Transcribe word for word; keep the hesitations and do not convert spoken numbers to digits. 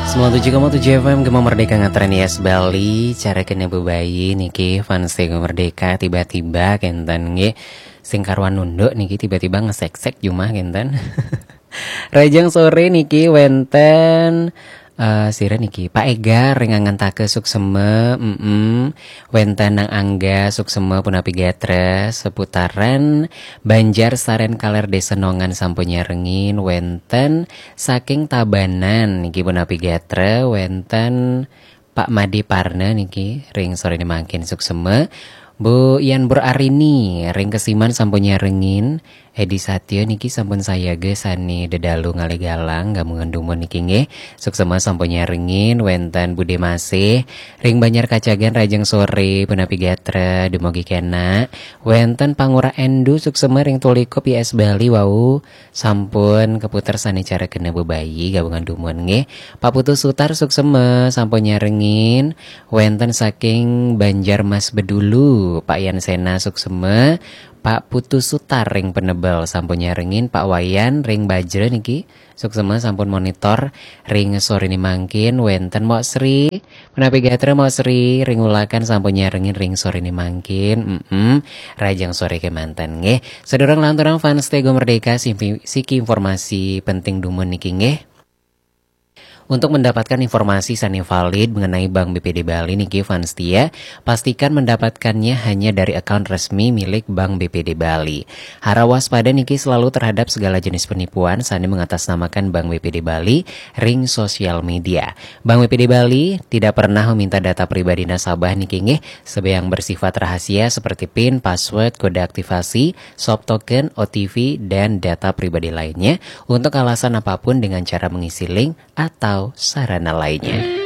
Sembilan tujuh koma tujuh F M Gema Merdeka ngetren Yes Bali, cara kena bebayi niki fans Gema Merdeka tiba-tiba kenten nggih sing karuan nunduk niki tiba-tiba ngesek-sek jumah kenten. Rajang sore niki wenten eh sira niki Pak Egar ring Angantaka suksema, mm wenten Nang Angga suksema punapi gatra, seputaran Banjar Saren Kaler Desa Nongan sampun nyarengin, wenten saking Tabanan niki punapi gatra, wenten Pak Made Parna niki ring sore mangkin suksema. Bu Yan Bur Arini ring Kesiman sampun nyarengin, Edi Satya niki sampun sayaga sane dedalu ngalih galang gabungan dumun niki nggih. Suksema sampun nyarengin, wenten Bude Masih ring Banjar Kacagan, rajeng sore punapi gatra dumugi kena. Wenten Pangura Endu suksema ring Tulikup Y S Bali wau sampun keputer sane cara kena bebayi gabungan dumun nggih. Pak Putu Sutar suksema sampun nyarengin, wenten saking Banjar Mas Bedulu, Pak Yan Sena suksema, Pak Putu Sutar ring Penebel sampun nyarengin, Pak Wayan ring Bajra niki suksema sampun monitor ring sore mangkin, wenten Mok Sri, punapi gatra Mok Sri ring Ulakan sampun nyarengin ring sore mangkin. Mm-mm. Rajang sore kemanten nggih. Sedurung lanturang fans Tego Merdeka, simpi- siki informasi penting dumun niki nggih. Untuk mendapatkan informasi sane valid mengenai Bank B P D Bali niki fans setia, pastikan mendapatkannya hanya dari akun resmi milik Bank B P D Bali. Harap waspada niki selalu terhadap segala jenis penipuan sane mengatasnamakan Bank B P D Bali ring sosial media. Bank B P D Bali tidak pernah meminta data pribadi nasabah niki nggih, sebab yang bersifat rahasia seperti pin, password, kode aktivasi, soft token, O T P, dan data pribadi lainnya untuk alasan apapun dengan cara mengisi link atau sarana lainnya.